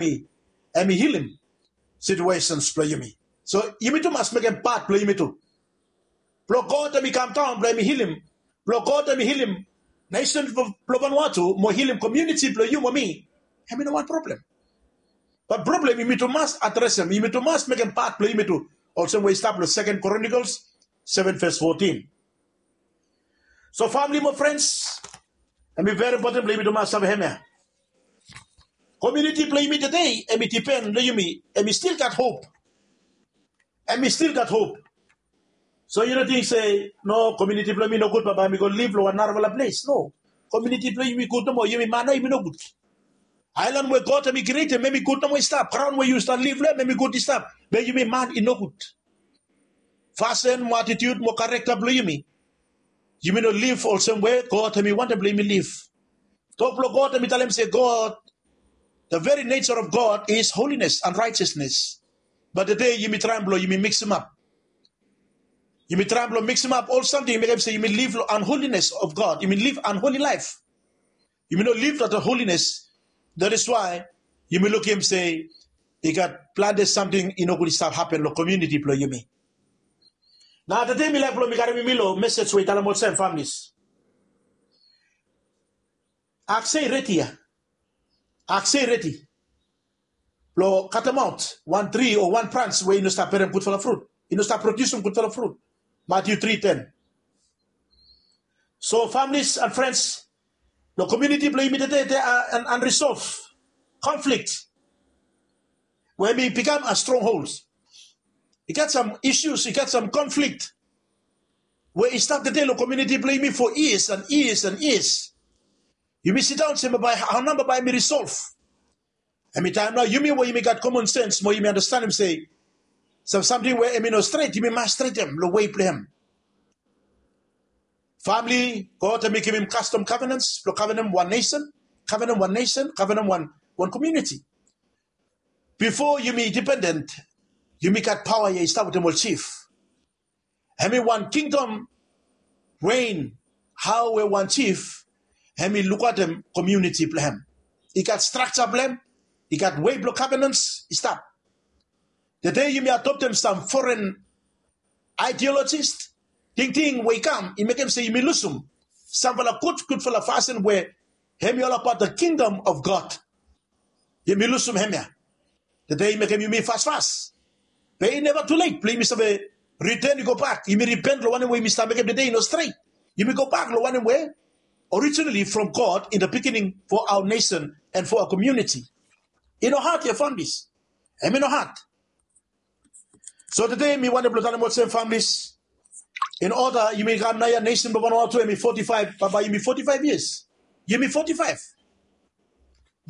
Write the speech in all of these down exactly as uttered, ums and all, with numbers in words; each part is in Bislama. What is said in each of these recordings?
hemi, hemi hilim situations blong yumi. So yumi tu mas mekem pat blong yumi tu. Blong God hemi kam daon blong hemi hilim. Blong God hemi hilim nesen blong Vanuatu mo hilim komuniti blong yu mo mi. Hemi no wan problem. Bat problem yumi tu mas adresem, yumi tu mas mekem pat blong yumi tu. Olsem we i stap long Second Chronicles seven verse fourteen. So famili mo frens, hemi veri impoten blong yumi tu mas save hemia. Komuniti blong yumi tede, hemi dipen long yumi, hemi stil gat hop. Hemi stil gat hop. So yu no ting se, no, komuniti blong mi nogud, bambae mi go liv long wan narafala ples. No. Komuniti blong yumi gud nomo, yumi man nao yumi nogud. Aelan we God hemi krietem, hemi gud nomo i stap. Graon we yu stap liv long hem, hemi gud i stap. Be yumi man i nogud. Fasin mo atitiut mo karakta blong yumi, yumi no liv olsem we God hemi wantem blong yumi liv. Tok blong God hemi talem se God, the very nature of God is holiness and righteousness. Bat tede yumi traem blong yumi miksimap. Yumi traem blong miksimap ol samting, mekem se yumi liv long unholiness of God. Yumi liv unholy life. Yumi no liv long holiness. That is why yumi lukim se i gat plante samting i no gud i stap hapen long komuniti blong yumi. Nao tede mi laek blong mi karem yumi long mesej we i talem olsem, familis, akse i redi ya. Akse i redi blong katemaot wan tri o wan brans we i no stap berem gudfala frut, i no stap prodiusim gudfala frut. Matiu tri ten. So familis and frens, long komuniti blong yumi tede, there are an unresolved conflict we hemi bikam a strongholds. I gat sam isus, i gat sam conflict we i stap tede long komuniti blong yumi for years and years and years. Yumi sidaon se, bae hao nao bae hemi resolve? Hemi taem nao yumi we yumi gat common sense mo yumi andastanem se sam samting we hemi no stret, yumi mas stretem long wei blong hem. Famili, God hemi givim kastom covenants blong govenem wan nesen, govenem wan nesen, govenem wan, wan komuniti. Bifo yumi independent, yumi gat paoa ya i stap wetem ol jif. Hemi wan kingdom rein, hao we wan jif hemi lukaotem komuniti blong hem. I gat strakja blong hem, i gat wei blong covenants i stap. Tede yumi adoptem sam foren ideologist, tingting we i kam i mekem se yumi lusum samfala gud, gudfala fasin we hemi olabaot the kingdom of God. Yumi lusum hemia. Tede i mekem yumi fasfas. Be i neva tuleit blong yumi save riten i gobak. Yumi ripen long wanem we yumi stap mekem tede i no stret. Yumi gobak long wanem we originally from God in the beginning for our nation and for our community. I no had ya, familis. Hemi no had. So tede mi wantem blong talem olsem, familis, in order yumi kam nao ya, nesen blong Vanuatu hemi forty-five, bambae yumi forty-five years. Yumi forty-five.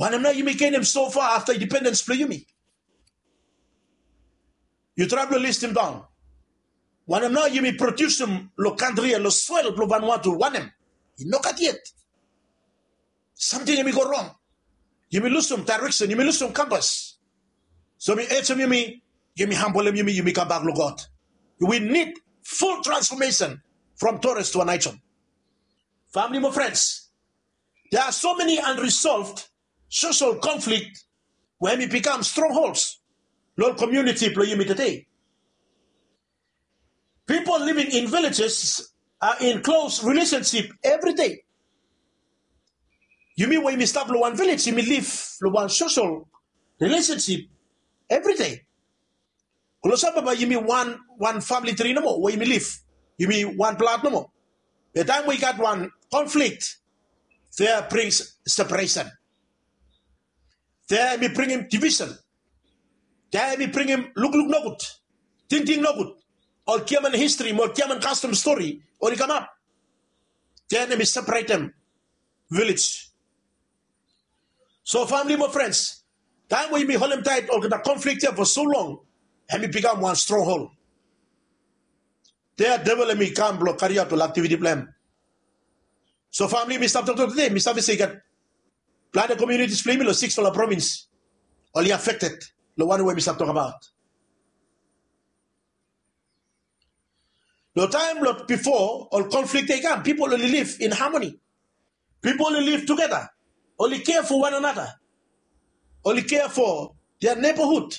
Wanem nao yumi genem so far afta independens blong yumi? Yu traem blong listim daon. Wanem nao yumi prodiusim long kantri ya, long soel blong Vanuatu? Wanem? I nogat yet. Samting hemi go rong. Yumi lusum daereksen, yumi lusum kampas. So mi ejem yumi, yumi hambolem yumi, yumi kambak long God. We need full transformation from Torres to Aneityum. Famili mo frens, there are so many unresolved social conflict we hemi bikam strongholds long komuniti blong yumi tede. People living in villages are in close relationship every day. Yumi we yumi stap long wan vilej, yumi liv long wan social relationship every day. Klosap bambae yumi wan, wan famili tri nomo we yumi liv. Yumi wan blad nomo. Be taem we i gat wan conflict, there brings separation. There hemi bringim division. There hemi bringim lukluk nogud, tingting nogud. Ol giaman histri mo ol giaman kastom stori oli kamap. Then hemi separetem vilej. So famili mo frens, taem we yumi holemtaet olgeta conflict ya for so long, hemi bikam wan stronghold. There devil hemi kam blong kariaot ol aktiviti blong hem. So famili, mi stap toktok tede, mi save se i gat plante komunitis blong yumi long siksfala provins oli affected long wanem we mi stap tokbaot. Long taem blong bifo, ol conflict ya i kam, pipol oli liv in harmony. Pipol oli liv tugeta. Oli kea fo wan anata. oli kea fo dia nebohud,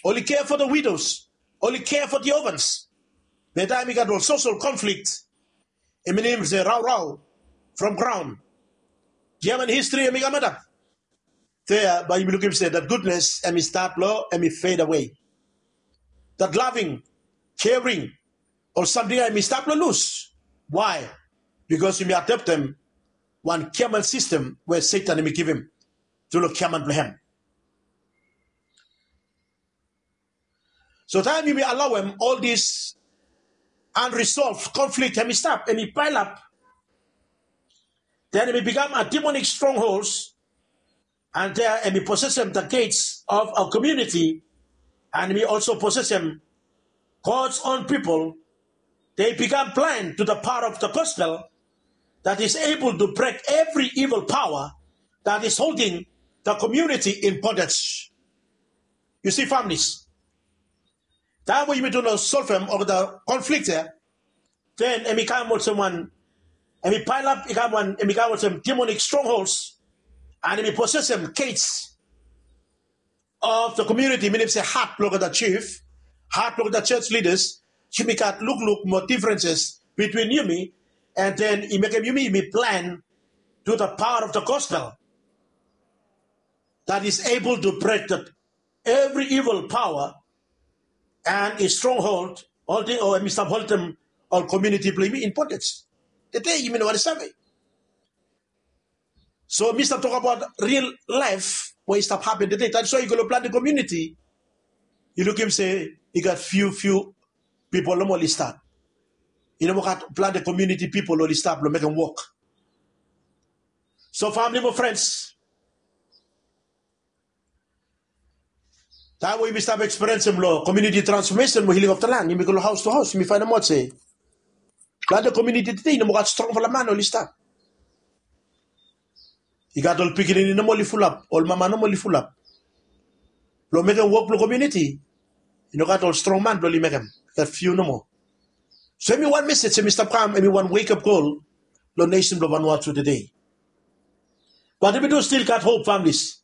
oli kea fo da widos, oli kea fo dia ovans. Be taem i gat ol sosol konflikt, i minim se raorao from graon. Giaman histri em i kam antap. Dea bae yumi lukim se dat gudnes em i stap long em i fed awe. Dat laving, kering, ol samting ya em i stap long lus. Wae? Bikos yumi adaptem wan giaman sistem we Setan em i givim tru long giaman blong hem. So taem yumi alaoem ol dis unresolved conflict em i stap, em i paelap, then em i bikam a demonic strongholds, and there em i posesem the gates of our community, and em i also posesem God's own people. They become blind to the power of the gospel that is able to break every evil power that is holding the community in bondage. Yu si, families, taem we yumi tu no solvem olgeta konflikt ya, then em i kam olsem wan, em i paelap, i kam wan, em i kam olsem demonic strongholds, and em i posesem gates of the community, minim se hat blong olgeta chief, hat blong olgeta church leaders, yumi gat lukluk mo differences between yumi, and then i mekem yumi, yumi blind to the power of the gospel that is able to break the, every evil power and a stronghold, holding, o em i stap holdim ol community blong yumi in bondage. Tede yumi no wani save. So mi stap tokbaot real laef we i stap hapen tede. That is why yu go long plante community, yu lukim se i gat few few pipol nomo oli stap. I no moa gat plante community pipol oli stap long mekem wok. So famili mo frens, taem we yumi stap ekspiriensem long community transformation mo healing of the land, yumi go long house to house, yumi faenemaot se plante community tede i no moa gat strongfala man oli stap. I gat ol pikinini nomo oli fulap, ol mama nomo oli fulap. Blong mekem wok blong community, i no gat ol strong man blong oli mekem. I gat few nomo. So em i wan message em i stap kam, em i wan wake up call long nation blong Vanuatu tede. But em i tu still gat hope, families.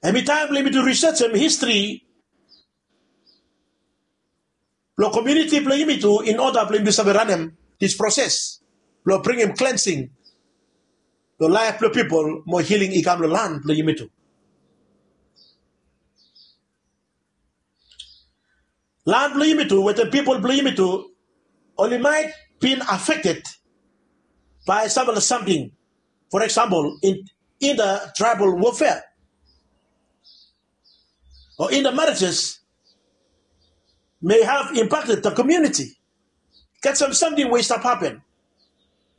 Em i taem blong yumi tu researchem histri blong community blong yumi tu, in order blong yumi tu save ranem this process blong bringim cleansing long laef blong pipol mo healing i kam long lan blong yumi tu. Lan blong yumi tu wetem pipol blong yumi tu oli maet bin affected by sampela samting. For example, in, in the tribal warfare or in the marriages may have impacted the community. Gat sam samting we i stap hapen.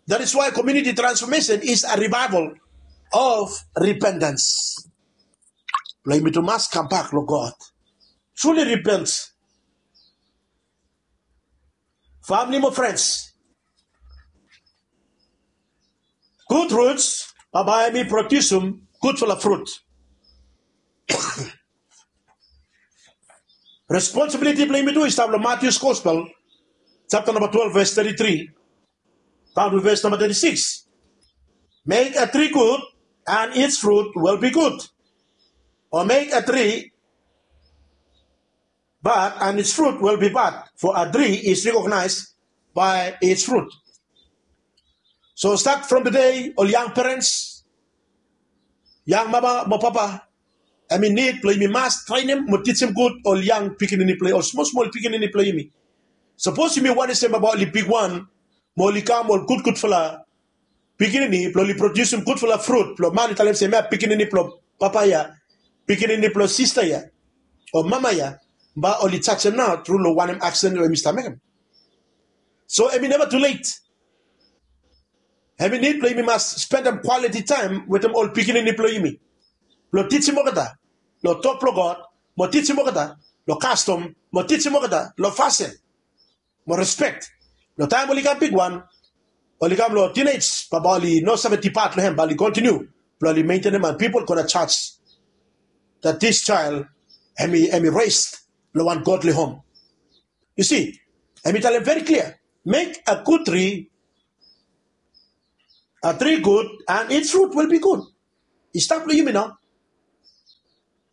That is why community transformation is a revival of repentance. Blong yumi tu mas kambak long God. Truly repent. Famili mo frens, gud ruts bambae em i prodiusim gudfala frut. Responsibiliti blong yumi tu i stap long Matius Gospel, japta namba twelve, ves teti tri daon to ves namba teti sikis. Make a tree good, and its fruit will be good. Or make a tree bad, and its fruit will be bad, for a tree is recognized by its fruit. So start from today, ol yang parents, yang mama mo papa, em i nid blong yumi mas trenem mo tijim gud ol yang pikinini blong, ol smosmol pikinini blong yumi. Sapos yumi wantem se bambae oli bigwan mo oli kam ol gudgudfala pikinini blong oli prodiusim gudfala frut blong man i talem se mi ya pikinini blong papa ya, pikinini blong sista ya, o mama ya, bae oli jajem nao tru long wanem aksen we mi stap mekem. So em i neva tulet. Em i nid blong yumi mas spendem kwaliti taem wetem ol pikinini blong yumi blong tijim olgeta long tok blong God, mo tijim olgeta long kastom, mo tijim olgeta long fasin mo respek. Long taem oli kam bigwan, oli kam long tinej, bambae oli no save dipat long hem, bae oli kontiniu blong oli mentenem, and pipol gona jaj that this child em i, em i raised long wan godly home. Yu si, em i talem very clear, make a good tree, a tree good, and its fruit will be good. i stap long yumi nao.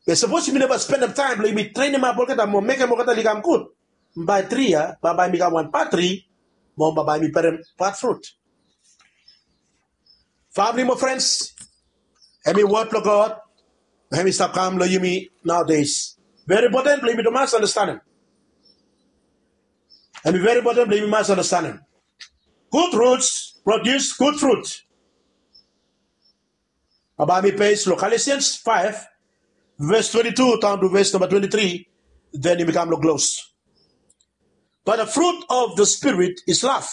Be sapos yumi neva spendem taem blong yumi trenimap olgeta mo mekem olgeta i kam gud, bae tri ya bambae mi kam wan patri mo bambae mi berem pat frut. Famili mo frens, hemi wod blong God hemi stap kam long yumi naodes. Veri impoten blong yumi tu mas anastanem. Hemi veri impoten blong yumi mas anastanem. Gud ruts prodius gud frut. Bambae mi pes long Galatians five, verse twenty-two down to verse number twenty-three, then yumi kam long klos. But the fruit of the Spirit is love,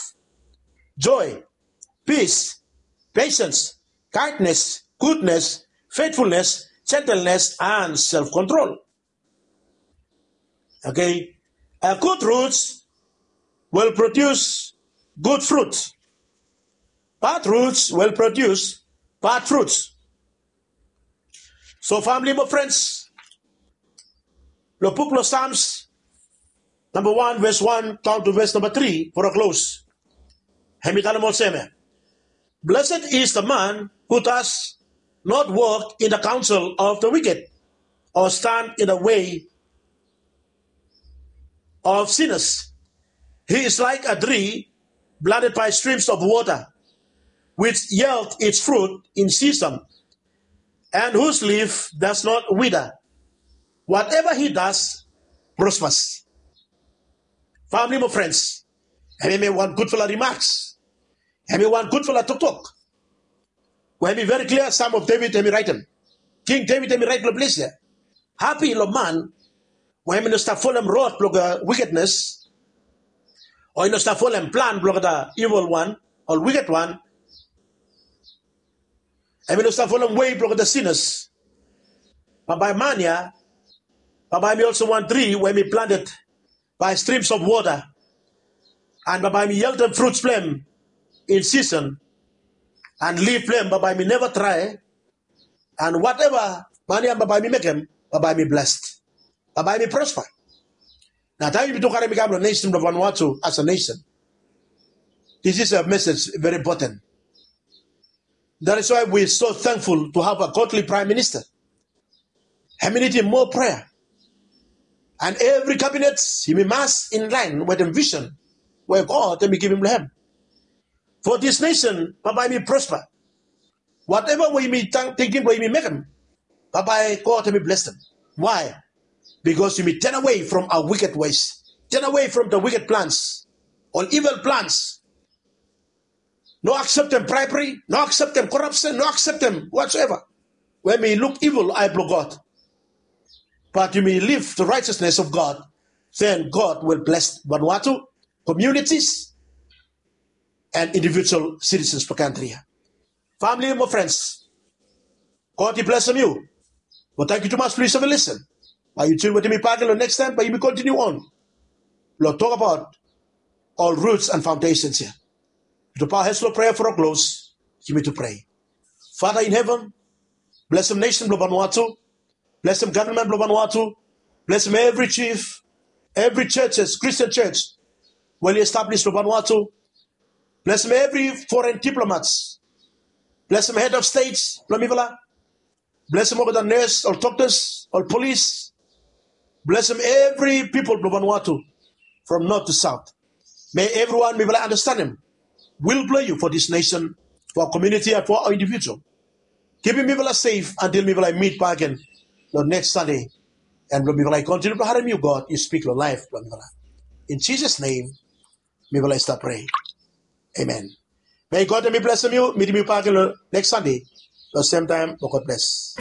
joy, peace, patience, kindness, goodness, faithfulness, gentleness, and self control. Okay? A good roots will produce good fruits. Bad roots will produce bad fruits. So famili mo frens, long buk blong Psalms namba wan ves wan down to ves namba tri for a klos. Hemi talem olsem ya, blessed is the man who does not walk in the counsel of the wicked, or stand in the way of sinners. He is like a tree planted by streams of water, which yield its fruit in season, and whose leaf does not wither. Whatever he does prospers. Famili mo frens, hemi wan gudfala rimaks, hemi wan gudfala toktok we hemi veri klia. Sam of David hemi raetem, King David hemi raet long ples ya, hapi long man we hemi no stap folem rod blong wikednes, o i no stap folem plan blong da ivil wan, ol wiked wan. Hemi no stap folem wei blong da sinas. Bambae man ya, bambae hemi olsem wan tri we hemi planted by streams of water, and bambae hemi yieldem fruits blong hem in season, and leaf blong hem bambae hemi neva dry, and whatever man ya bambae hemi mekem bambae hemi blessed, bambae hemi prosper. Na taem yumi tu karem i kam long nesen blong Vanuatu as a nation, this is a message very important. That is why we so thankful to have a godly prime minister. Hemi nidim moa prea, and evri kabinet yumi mas in laen wetem visen we God hemi givim long hem. For this nation bambae hemi prosper. Whatever we yumi tingting blong yumi mekem, bambae God hemi blesem. Why? Because yumi turn away from our wicked ways, turn away from the wicked plans, ol evil plans. No akseptem bribery, no akseptem corruption, no akseptem whatsoever we hemi luk evil long ae blong God. But yumi live the righteousness of God, then God will bless Vanuatu, communities, and individual citizens blong kantri ya. Famili mo frens, God i blesem yu. Mo tangkiu tumas blong yu save lisen. Bae yu tune wetem mi bakegen long neks taem bae yumi kontiniu on blong tokbaot ol ruts and faondesens ya. Yu tu paoa hes long prea for a klos. Yumi tu prea. Fada in heven, blesem nesen blong Vanuatu, blesem gavman blong Vanuatu, blesem evri jif, evri jejis, Kristin jej we oli establis long Vanuatu. Blesem evri foren diplomats. Blesem hed of stets blong mifala. Blesem olgeta nes, ol doktas, ol polis. Blesem evri pipol blong Vanuatu from not to saot. Me evriwan mifala anastenem wil blong yu fo dis nesen, fo aoa komiuniti and fo aoa indivijual. Kipim mifala sef antil mifala i mit bakegen long neks Sande, and blong mifala i kontiniu blong harem yu God yu spik long laef blong mifala. In Jisas nem mifala i stap prea. Amen. Mei God hem i blesem yu, mitim yu bakegen long neks Sande long semtaem. Mo God bles.